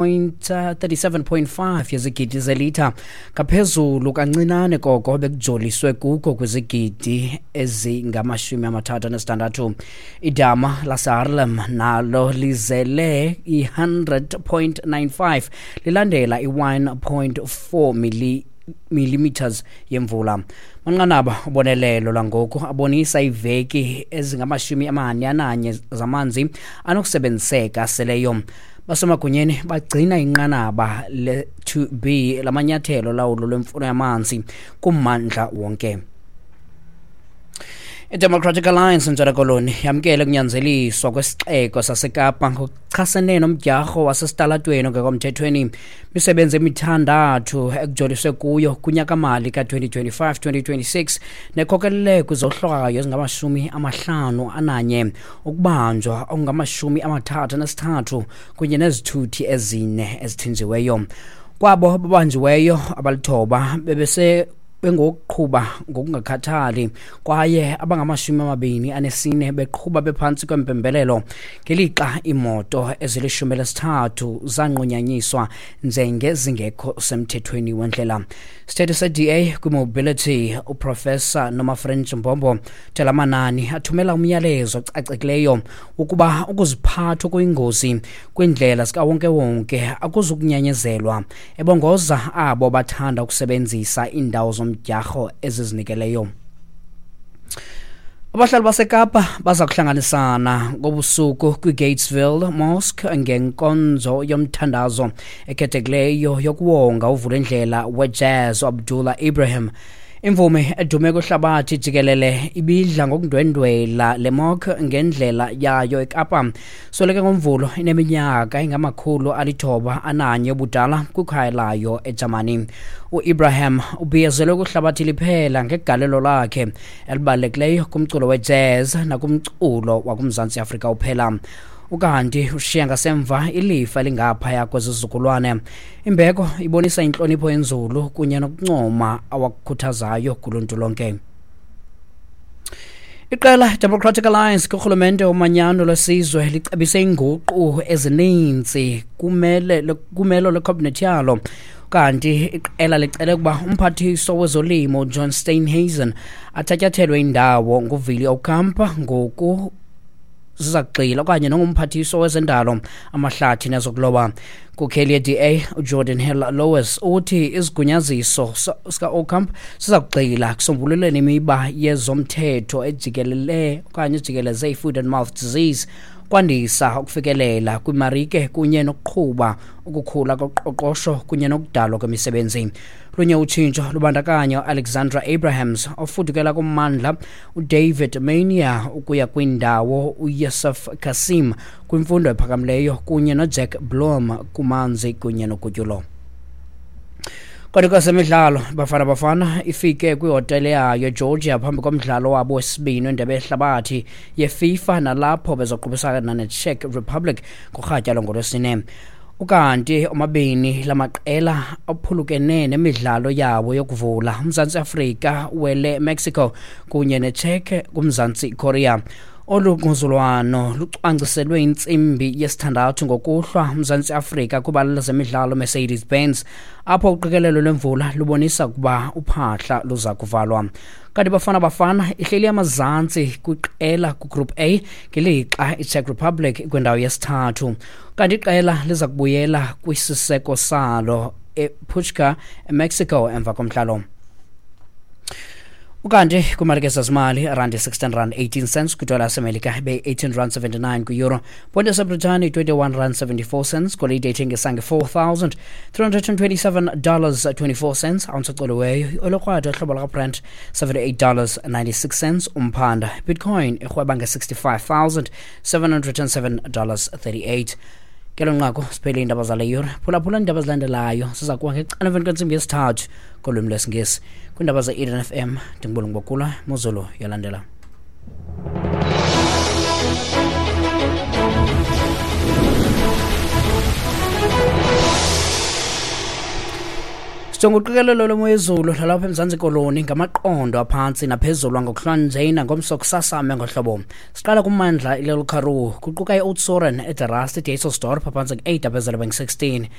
37.5 yezigidi zelitha, ngaphezulu kancinane koko bekujoliswe kuko kwizigidi ezingama-36. Idama laseHaarlem nalo lizele i-100.95 lilandela i-1.4 millimeters yemvula. Manqanaba ubonelelo lwangoku abonisa iiveki ezingama-41 zamanzi anokusebenziseka seleyo. Basemagunyeni bagcina inqanaba le-2B lamanyathelo lawulo lwemfuno yamanzi kummandla wonke. IDemocratic Alliance eNtshona Koloni yamkele ukunyanzeliswa kwesixeko saseKapa ngokuchasene nomdyarho wasesitalatweni ongekomthethweni. Imisebenzi emithandathu ekujoliswe kuyo kunyakamali ka-2025-2026 nekhokelele kwizohlwayo ezingama-51, ukubanjwa okungama-33 kunye nezithuthi ezine ezithinjiweyo. Kwabo babanjiweyo, abalithoba bebese bengokuqhuba ngokungakhathali kwaye abangama-24 beqhuba bephantsi kwempembelelo, ngelixa iimoto ezili-13 zanqunyanyiswa njengezingekho semthethweni wendlela. Isithethi se-DA kwiMobility, uProfessor Nomafrench Mbombo, uthe la manani athumela umyalezo ocacileyo wokuba ukuziphatha okuyingozi kwiindlela zikawonkewonke akuzukunyanyezelwa, ebongoza abo bathanda ukusebenzisa iindawo zomdyarho ezizinikeleyo. Abahlali baseKapa baza kuhlanganisana ngobusuku kwiGatesville Mosque ngenkonzo yomthandazo ekhethekileyo yokuwonga uvulindlela wejazz uAbdullah Ibrahim. Imvumi edume kwihlabathi jikelele ibidla ngokundwendwela le mosque ngendlela yayo eKapa. Sweleke ngoMvulo ineminyaka engama-901 ubudala kwikhaya layo eJamani. UIbrahim ubhiyozelwe kwihlabathi liphela ngegalelo lakhe elibalulekileyo kumculo wejazz nakumculo wakuMzantsi Afrika uphela. Ukanti ushiya ngasemva ilifa elingaphaya kwezizukulwane. Imbeko ibonisa intlonipho enzulu kunye nokuncoma awakukhuthazayo kuluntu lonke. Iqela Democratic Alliance kurhulumente womanyano lwesizwe licebise iinguqu ezininzi kumele kumelo lwekhabhinethi yalo. Kanti iqela licele ukuba umphathiswa wezolimo John Steenhuisen athatyathelwe indawo nguVili Ocampo, ngoku ziza kugxila, okanye nongumphathiswa wezendalo, amahlathi nezokuloba. Inkokheli ye-DA uGeordin Hill-Lewis uthi isigunyaziso sika-Ocamp siza kugxila kusombululeni imiba yezomthetho ejikelele okanye ejikeleze i-foot and mouth disease, kwandisa ukufikelela kwimarike kunye nokuqhuba ukukhula koqoqosho kunye nokudalwa kwemisebenzi. Lunye utshintsho lubandakanya uAlexandra Abrahams ofudukela kummandla, uDavid Maynier ukuya kwindawo, uYusuf Cassim kwimfundo ephakamileyo kunye noJack Blom kumanzi kunye nogutyulo. Kodwa kwezemidlalo, Bafana Bafana ifike kwihotele yayo eGeorgia phambi komdlalo wabo wesibini wendebe yehlabathi yeFIFA, nalapho bezoqubisana neCzech Republic kurhatya lwangolwesine. Ukanti omabini lamaqela aphulukene nemidlalo yawo yokuvula, uMzantsi Afrika wele Mexico kunye neCzech kuMzantsi Korea. Olu ngquzulwano lucwangciselwe intsimbi yesithandathu ngokuhlwa uMzantsi Afrika kwibala lezemidlalo Mercedes Benz, apho uqikelelo lwemvula lubonisa ukuba uphahla luza kuvalwa. Kanti Bafana Bafana ihleli amazantsi kwiqela kugroup A, ngelixa iCzech Republic ikwindawo yesithathu. Kanti iqela liza kubuyela kwisiseko salo ePachuca, eMexico, emva komdlalo. Ukanti kwimarike zezimali, randi 16 rand 18 cents kwidola yaseMelika, ibe-18 rand 79 kwi-euro, ponto yaseBritani 21 rand 74 cents, golide ithengisa nge-$4,327 24 cents ounce ecoliweyo, olokrwada hlobo likaBrent $78 96 cents umphanda, Bitcoin irhweba nge-$65,707 38. Kelo nqaku siphele iindaba zale yure. Phulaphula iindaba ezilandelayo, siza kuba ngecala emveni kwentsimbi yesithathu kolwimi lwesiNgesi. Kwiindaba ze-Eden FM, ndingubulungu bokula mozulu yalandela. Sijonga uqikelelo lwemo yezulu lalapha eMzantsi Koloni ngamaqondo aphantsi naphezulu angokuhlwanje nangomso kusasame ngohlobo. Siqala kummandla iLittle Karoo, kuquka i-Oudtshoorn, eDerrast, iDysselsdorp aphantsi ku-8 aphezulu beng-16.